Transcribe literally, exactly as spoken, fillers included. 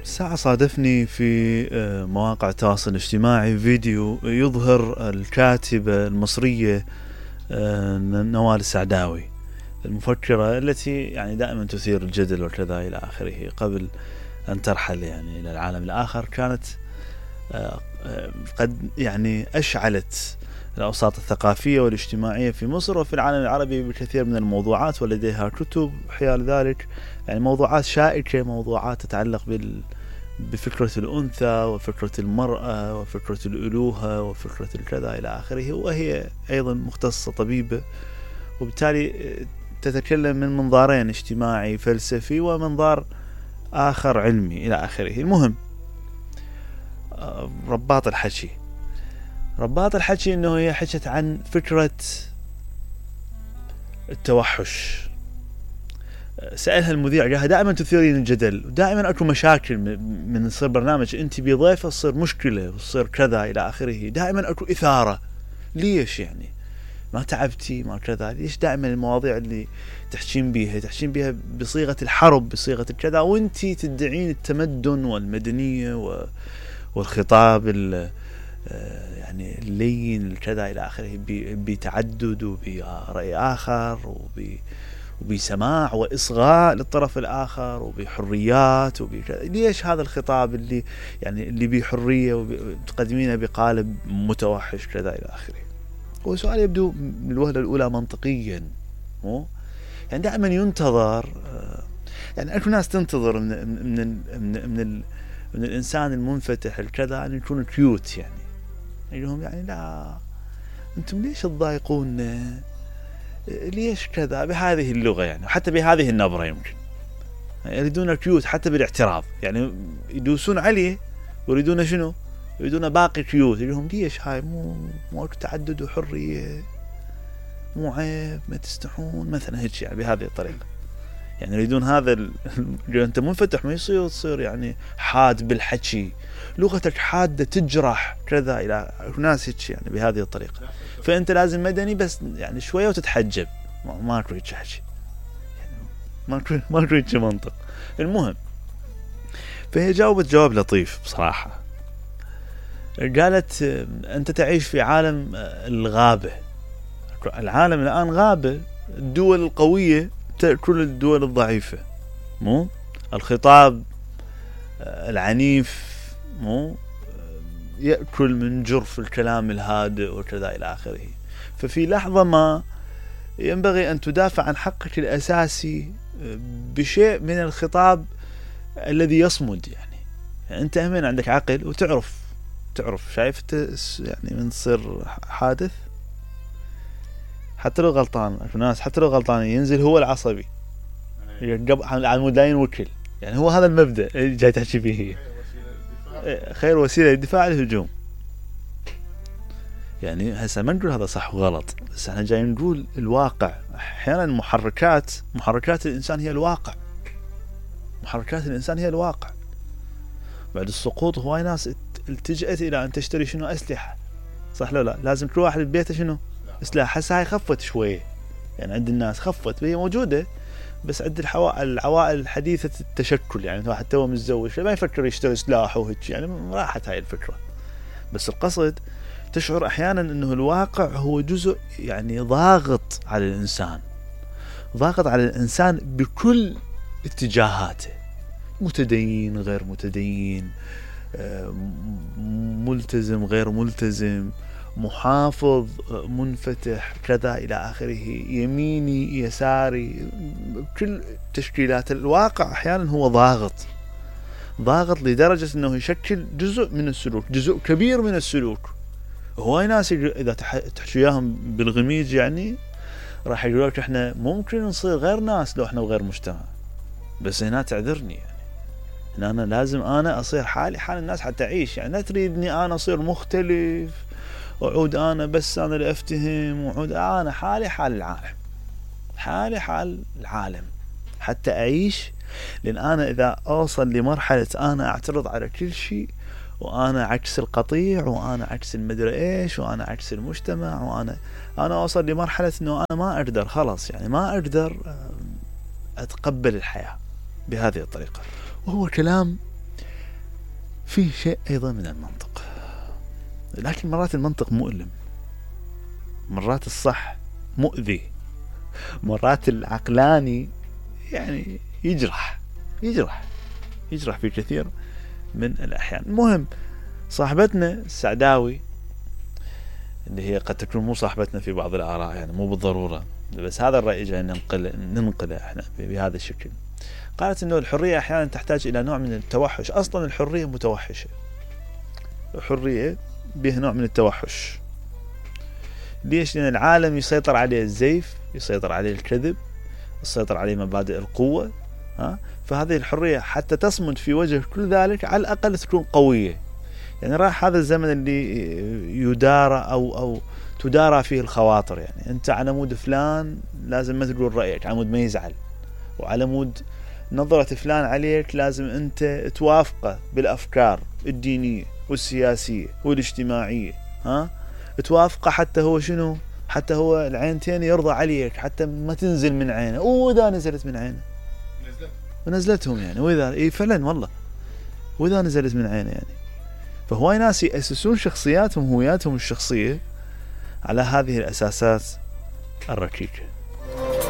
ساعة صادفني في مواقع التواصل الاجتماعي فيديو يظهر الكاتبة المصرية نوال السعداوي المفكرة التي يعني دائما تثير الجدل وكذا إلى آخره قبل أن ترحل يعني إلى العالم الآخر. كانت قد يعني أشعلت الأوساط الثقافية والاجتماعية في مصر وفي العالم العربي بكثير من الموضوعات، ولديها كتب حيال ذلك، يعني موضوعات شائكة، موضوعات تتعلق بال بفكرة الأنثى وفكرة المرأة وفكرة الألوهة وفكرة الكذا إلى آخره، وهي أيضا مختصة طبيبة، وبالتالي تتكلم من منظارين اجتماعي فلسفي ومنظار آخر علمي إلى آخره. المهم رباط الحكي رباط الحكي إنه هي حكت عن فكرة التوحش. سألها المذيع قالها دائما تثيرين الجدل ودائما أكو مشاكل من يصير برنامج أنت بضيفة تصير مشكلة وتصير كذا إلى آخره، دائما أكو إثارة، ليش يعني ما تعبتي ما كذا؟ ليش دائما المواضيع اللي تحكين بيها تحكين بيها بصيغة الحرب بصيغة الكذا، وانتي تدعين التمدن والمدنية والخطاب يعني اللين الكذا إلى آخره بتعدد وبرأي آخر وب وبسماع وإصغاء للطرف الآخر وبحريات وبكذا. ليش هذا الخطاب اللي يعني اللي بحرية وتقدمينه بقالب متوحش كذا إلى آخره؟ هو سؤال يبدو من الوهلة الأولى منطقيا، مو يعني دائما ينتظر، يعني أكو ناس تنتظر من من من من, ال من الإنسان المنفتح الكذا أن يكون كيوت، يعني يقولهم يعني لا أنتم ليش تضايقون، ليش كذا بهذه اللغة يعني، حتى بهذه النبرة يمكن يريدون كيوت حتى بالاعتراض، يعني يدوسون عليه ويريدون شنو؟ يريدون باقي كيوت. يقولهم ليش هاي مو مو تعدد وحرية، مو عيب، ما تستحون مثلا هيك، يعني بهذه الطريقة، يعني يريدون هذا ال... أنت منفتح ما يصير تصير يعني حاد بالحكي، لغتك حادة تجرح كذا إلى ناس هيك يعني بهذه الطريقة، فأنت لازم مدني بس يعني شوية وتتحجب، ما أكو هيك حكي يعني، ما أكو ما أكو هيك منطق. المهم فهي جاوبت جواب لطيف بصراحة، قالت أنت تعيش في عالم الغابة، العالم الآن غابة، الدول القوية تأكل الدول الضعيفة، مو الخطاب العنيف مو يأكل من جرف الكلام الهادئ وكذا إلى آخره. ففي لحظة ما ينبغي أن تدافع عن حقك الأساسي بشيء من الخطاب الذي يصمد، يعني, يعني أنت همين عندك عقل وتعرف تعرف شايف يعني من تصير حادث حتى لو غلطان، في ناس حتى لو غلطان ينزل هو العصبي على مود لا ينوكل، يعني هو هذا المبدأ جاي تحكي فيه، هي خير وسيلة للدفاع الهجوم. يعني هسه ما نقول هذا صح وغلط، بس احنا جاي نقول الواقع. احيانا محركات محركات الانسان هي الواقع، محركات الانسان هي الواقع. بعد السقوط هواي ناس التجأت الى ان تشتري شنو اسلحة، صح لو لا؟ لازم كل واحد ببيته شنو اسلحة. هسه هاي خفت شوية، يعني عند الناس خفت، هي موجودة بس عند العوائل الحديثة التشكل، يعني واحد توه متزوج ما يفكر يشتري سلاح وهيك، يعني راحت هاي الفكرة. بس القصد تشعر احيانا انه الواقع هو جزء يعني ضاغط على الانسان، ضاغط على الانسان بكل اتجاهاته، متدين غير متدين، ملتزم غير ملتزم، محافظ منفتح كذا إلى آخره، يميني يساري، كل تشكيلات الواقع أحيانا هو ضاغط ضاغط لدرجة أنه يشكل جزء من السلوك، جزء كبير من السلوك. هواي ناس إذا تحكيهم بالغميج يعني راح يقولوا لك إحنا ممكن نصير غير ناس لو إحنا وغير مجتمع، بس هنا تعذرني، يعني هنا أنا لازم أنا أصير حالي حال الناس حتى أعيش، يعني لا تريدني أنا أصير مختلف وعود أنا بس أنا اللي أفتهم، وعود أنا حالي حال العالم، حالي حال العالم حتى أعيش. لأن أنا إذا أوصل لمرحلة أنا أعترض على كل شيء، وأنا عكس القطيع، وأنا عكس المدري إيش، وأنا عكس المجتمع، وأنا أنا أوصل لمرحلة إنه أنا ما أقدر خلاص، يعني ما أقدر أتقبل الحياة بهذه الطريقة. وهو كلام في شيء أيضا من المنطق، لكن مرات المنطق مؤلم، مرات الصح مؤذي، مرات العقلاني يعني يجرح يجرح يجرح في كثير من الأحيان. المهم صاحبتنا السعداوي اللي هي قد تكون مو صاحبتنا في بعض الآراء، يعني مو بالضرورة، بس هذا الرأي جاي ننقل ننقله احنا بهذا الشكل. قالت انه الحرية احيانا تحتاج الى نوع من التوحش. اصلا الحرية متوحشة، الحرية بها نوع من التوحش. ليش؟ لان العالم يسيطر عليه الزيف، يسيطر عليه الكذب، يسيطر عليه مبادئ القوة، ها؟ فهذه الحرية حتى تصمد في وجه كل ذلك على الاقل تكون قوية. يعني راح هذا الزمن اللي يدارى او او تدارى فيه الخواطر، يعني انت على مود فلان لازم ما تقول رأيك على مود ما يزعل، وعلى مود نظرة فلان عليك لازم انت توافقه بالافكار الدينية والسياسية والاجتماعية، ها؟ توافقه حتى هو شنو؟ حتى هو العينتين يرضى عليك، حتى ما تنزل من عينه، واذا نزلت من عينه نزلت ونزلتهم يعني، واذا اي فعلا والله واذا نزلت من عينه يعني. فهواي ناس يأسسون شخصياتهم هوياتهم الشخصية على هذه الأساسات الركيكة.